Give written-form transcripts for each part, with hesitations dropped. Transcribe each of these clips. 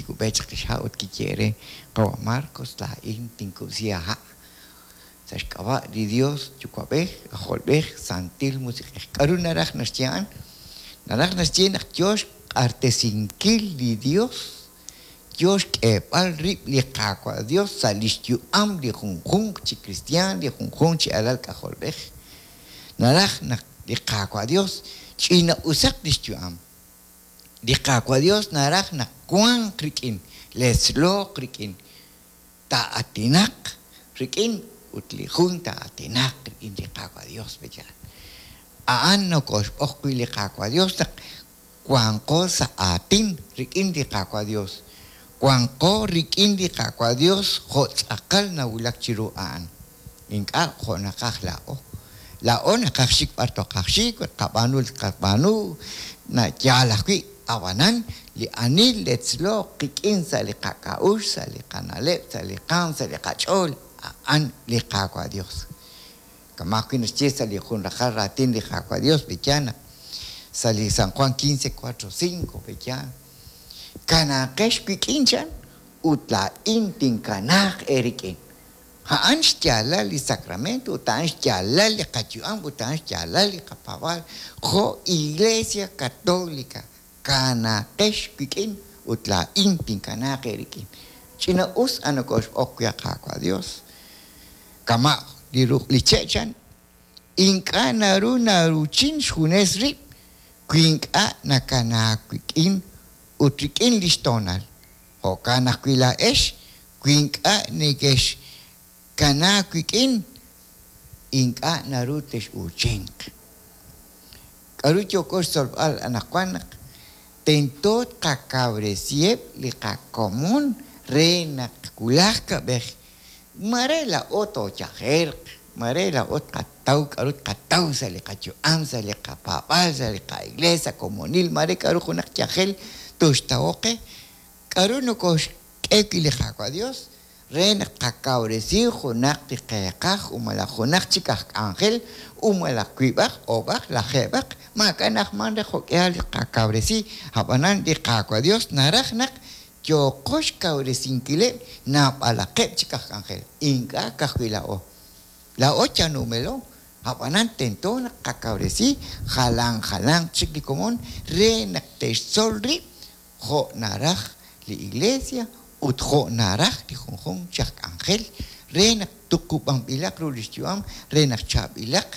kikub'e chaq xha' ut kiyehe' re, Qawa' Marcos, laa'in tinkub'si aaha' sa' xk'ab'a' li Dios Yuwa'b'ej, K'ajolb'ej, Santil Musiq'ej. K'a'ru naraj naxye a'an? Naraj naxye naq yoo xq'artesinkil li Dios, yoo xk'eeb'al rib' li Qaawa' Dios sa' lix yu'am li junjunq chi kristiaan, li junjunq chi alal k'ajolb'ej. Naraj naq li Qaawa' Dios ch'ina-usaq lix yu'am. Li Qaawa' Dios naraj naq wanq rik'in, letzlooq rik'in, taa'atinaq rik'in ut li jun taa'atinaq rik'in li Qaawa' Dios, pe'yaal? A'an nokoxb'oq wi' li Qaawa' Dios naq wanqo sa' aatin rik'in li Qaawa' Dios, wanqo rik'in li Qaawa' Dios jo' tz'aqal nawulak chiru a'an, ink'a' jo' naqaj laa'o. Laa'o naqaj xik b'ar toqaj xik, tqab'aanu li tqab'aanu, yaal ajwi', ab'anan li ani letzlooq qik'in sa' li qak'a'uxl, sa' li qana'leb', sa' li qaanm, sa' li qach'ool, a'an li Qaawa' Dios. Kama' ajwi' naxye sa' li jun raqal raatin li Qaawa' Dios, pe'yaal naq sa' li San Juan 15, 4, 5, pe'yaal, Kanaaqex wik'in, chan, ut laa'in tinkanaaq eerik'in. A'an xyaalal li sacramento ut a'an xyaalal li qayu'am ut a'an xyaalal li qapaab'aal jo' Iglesia Católica. Kanaaqex wik'in ut laa'in tinkanaaq eerik'in. Ch'ina-us a nokoxb'oq wi' Qaawa' Dios. Kama' li ruq' li che' chan, ink'a' naru naruuchin xjunes rib' wi ink'a' nakanaak wik'in ut rik'in lix toonal. Jo'kan ajwi' laa'ex, wi ink'a' nekexkanaak wik'in, ink'a' naru tex'uuchinq. K'aru yooko xtzolb'al anaqwan naq tento tqakawresiheb' li qakomon re naq wulaj kab'ej maare laa'o tooyajerq, maare laa'o tqataw k'aru tqataw sa' li qayu'am, sa' li qapaab'aal, sa' li qa'iglees, sa' komonil, maare k'aru junaq yajel toxtawoq qe? K'aru nokooxk'e wi' li Qaawa' Yos re naq tqakawresi junaq li qeeqaj u malaj junaq chik aj k'anjel u malaj wiib'aq, oob'aq, lajeeb'aq? Maak'a' na'ajmank re jo'k'ihal li tqakawresi, ab'anan li Qaawa' Yos naraj naq yooqo xkawresinkileb' naab'alaqeb' chik aj k'anjel, ink'a' ka'ajwi' laa'o. Laa'o yal numelo, ab'anan tento naq tqakawresi jalan jalanq chik li komon re naq te'xtzol rib' jo' naraj li Iglesia ut jo' naraj li junjunq chi aj k'anjel re naq tuqub'anb'ilaq ru li xyu'am, re naq chaab'ilaq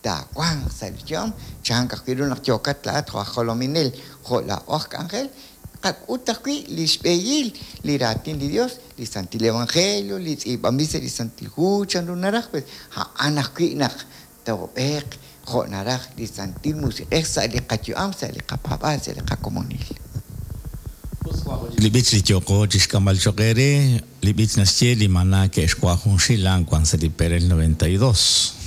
taawanq sa' li xyu'am, chank ajwi' ru naq yookat laa'at jo' aj jolominel, jo' laa'o aj k'anjel, tqak'ut ajwi' li xb'ehil li raatin li Dios, li Santil Evangelio, li tz'iib'anb'il sa' li Santil Hu, chanru naraj, pues a'an ajwi' naq toob'eeq jo' naraj li Santil Musiq'ej sa' li qayu'am, sa' li qapaab'aal, sa' li qakomonil. Li b'ich li yooqo chixk'amb'al choq' eere, li b'ich naxye li maná ke'xwa' junxil a'an wan sa' li perel 92.